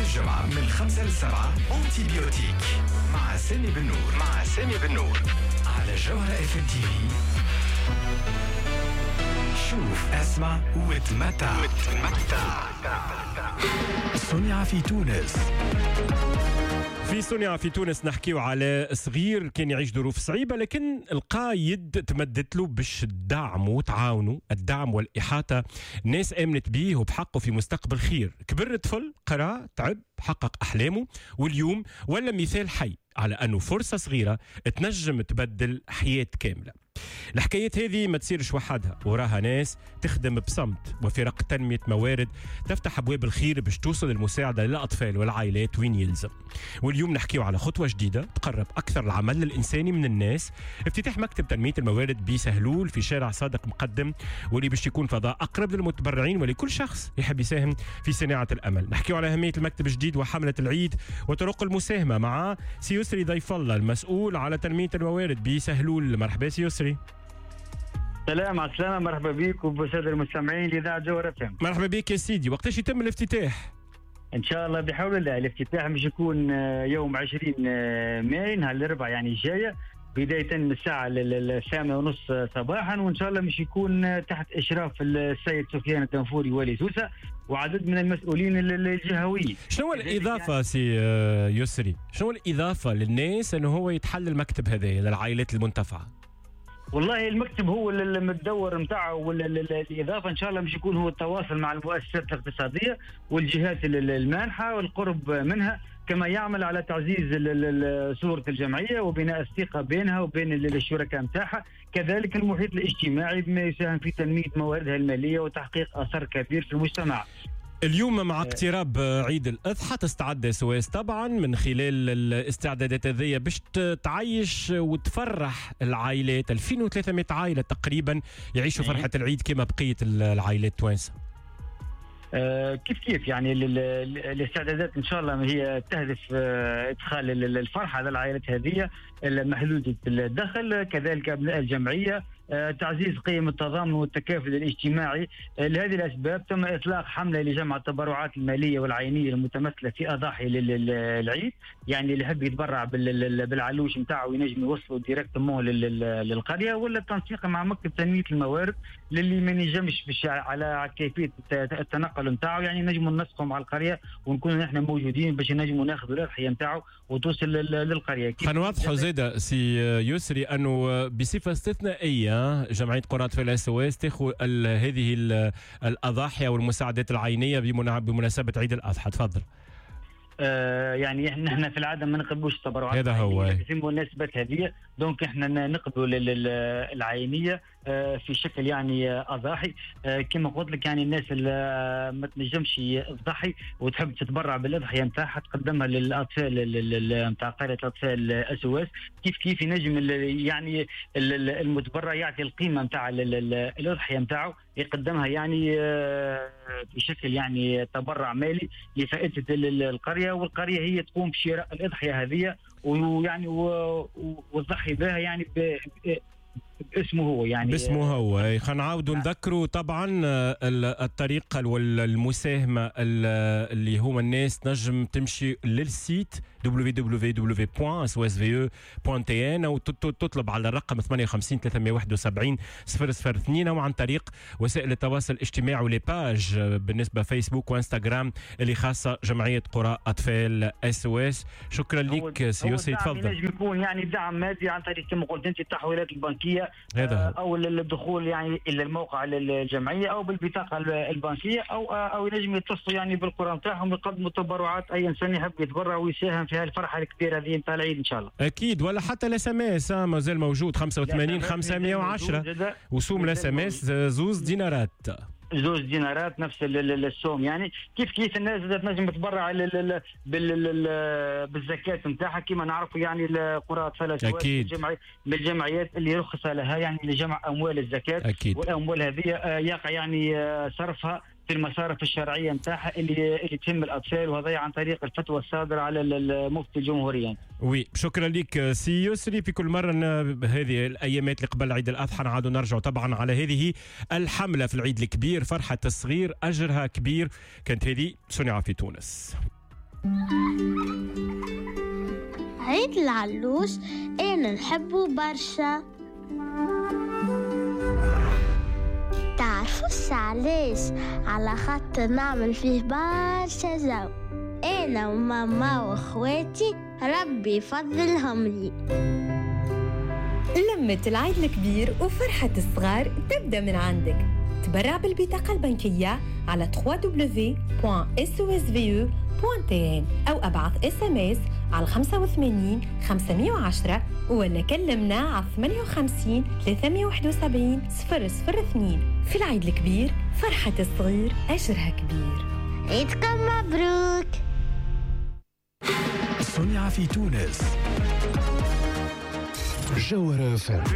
كل جمعة من 5 ل 7 antibiotique مع سامي بالنور، مع سامي بالنور على جوهرة FM TV. شوف، اسمع وتمتع، وتمتع. صنع في تونس. في صنع في تونس نحكيو على صغير كان يعيش ظروف صعيبة، لكن لقى يد تمدت له باش تدعمه وتعاونه. الدعم والإحاطة، ناس آمنت بيه وبحقه في مستقبل خير. كبر الطفل، قرأ، تعب، حقق أحلامه، واليوم ولا مثال حي على أنه فرصة صغيرة تنجم تبدل حياة كاملة. الحكايات هذه ما تصيرش وحدها، وراها ناس تخدم بصمت وفرق تنمية موارد تفتح أبواب الخير باش توصل المساعدة للأطفال والعائلات وين يلزم. واليوم نحكيو على خطوة جديدة تقرب أكثر العمل الإنساني من الناس، افتتاح مكتب تنمية الموارد بسهلول في شارع صادق مقدم، واللي باش يكون فضاء أقرب للمتبرعين ولكل شخص يحب يساهم في صناعة الأمل. نحكيو على أهمية المكتب الجديد وحملة العيد وطرق المساهمة مع سي يسري ضيف الله المسؤول على تنمية الموارد بسهلول. مرحبا سي يسري. سلام، على السلامة، مرحبا بك وبالسادة المستمعين لإذاعة جوهرة FM. مرحبا بك يا سيدي. وقتاش يتم الافتتاح؟ إن شاء الله بحول الله الافتتاح مش يكون يوم 20 ماي، نهار الأربعاء يعني الجاية، بداية من الساعة 8:30 صباحا، وإن شاء الله مش يكون تحت إشراف السيد سفيان الدنفوري والي سوسة وعدد من المسؤولين الجهويين. شنو الإضافة سي يسري؟ شنو الإضافة للناس أنه هو يتحل المكتب هذا للعائلات المنتفعة؟ والله المكتب هو المدور نتاعه، والاضافة ان شاء الله مش يكون هو التواصل مع المؤسسات الاقتصادية والجهات المانحه والقرب منها، كما يعمل على تعزيز صوره الجمعية وبناء الثقة بينها وبين الشركاء نتاعها، كذلك المحيط الاجتماعي بما يساهم في تنمية مواردها المالية وتحقيق اثر كبير في المجتمع. اليوم مع اقتراب عيد الأضحى تستعد SOS طبعا من خلال الاستعدادات هذه باش تعيش وتفرح العائلات، 2300 عائلة تقريبا يعيشوا فرحة العيد كما بقية العائلات التوانسة. كيف كيف يعني الاستعدادات ان شاء الله هي تهدف ادخال الفرحة للعائلات هذه المحدودة الدخل، كذلك ابناء الجمعية، تعزيز قيم التضامن والتكافل الاجتماعي. لهذه الأسباب تم إطلاق حملة لجمع التبرعات المالية والعينية المتمثلة في أضاحي للعيد، يعني اللي يحب يتبرع بالعلوش نتاعو ينجم يوصلوا directement للقرية، ولا التنسيق مع مكتب تنمية الموارد للي ما ينجمش باش على كيفية التنقل نتاعو، يعني نجموا ننسقوا مع القرية ونكونوا نحن موجودين باش نجموا ناخذوا الأضحية نتاعو وتوصل للقرية. خلينا نوضحوا زاده سي يسري أنه بصفة استثنائية جمعية قرى أطفال SOS تاخذ هذه الأضاحي والمساعدات العينية بمناسبة عيد الأضحى. تفضل. يعني نحن في العادة ما نقبلوش التبرعات هذا هو في المناسبات هذه، donc احنا نقبلوا العينية في شكل يعني اضاحي. كما قلت لك يعني الناس اللي ما تنجمش تضحي وتحب تتبرع بالاضحيه نتاعها تقدمها للاطفال نتاع قرية الاطفال SOS. كيف كيف ينجم يعني المتبرع يعطي القيمة نتاع الاضحية نتاعو يقدمها يعني بشكل يعني تبرع مالي لفائدة القرية، والقريه هي تقوم بشراء الاضحية هذه ويعني وتضحي بها يعني باسمه هو، يعني باسمه هو. خلينا نعاودوا نذكروا طبعا الطريقة والمساهمة اللي هما الناس تنجم تمشي لل site www.sosve.tn او تطلب على الرقم 58 371 002 او عن طريق وسائل التواصل الاجتماعي و les pages بالنسبة فيسبوك وانستغرام اللي خاصة جمعية قرى اطفال SOS. شكرا لك سي يسري. تفضل. ينجم يكون يعني دعم مادي عن طريق كما قلت انت التحويلات البنكية او الدخول يعني الى الموقع للجمعية او بالبطاقه البنكية او ينجم يتصلوا يعني بالقرى نتاعهم يقدموا تبرعات. اي انسان يحب يتبرع ويساهم في هالفرحه الكبيرة هذه نتاع العيد ان شاء الله. اكيد، ولا حتى ال SMS مازال موجود 85 510 وسوم ال SMS 2 دينارات. 2 دينارات نفس السوم يعني. كيف كيف الناس تنجم تتبرع بالزكاة نتاعها كما نعرفوا يعني القرى اطفال من الجمعيات اللي رخص لها يعني لجمع اموال الزكاة. أكيد. والاموال هذه يقع يعني صرفها في المصارف الشرعية نتاعها اللي تهم الاطفال، وهذا عن طريق الفتوى الصادرة على المفتي الجمهوري. oui، شكرا لك سي يسري. في كل مرة هذه الايامات اللي قبل عيد الاضحى نعادوا نرجعوا طبعا على هذه الحملة في العيد الكبير، فرحه الصغير اجرها كبير. كانت هذه صنع في تونس. عيد العلوش أنا نحبه برشا. تعرفوش علاش؟ على خاطر نعمل فيه برشا جو أنا وماما وأخواتي، ربي يفضلهم لي. لمة العيد الكبير وفرحة الصغار تبدأ من عندك. تبرع بالبطاقة البنكية على www.sosve.tn أو أبعث SMS على 85 510 ولا كلمنا على 58 371 002. في العيد الكبير فرحة الصغير أجرها كبير. عيدكم مبروك. صنع في تونس، جوهرة FM.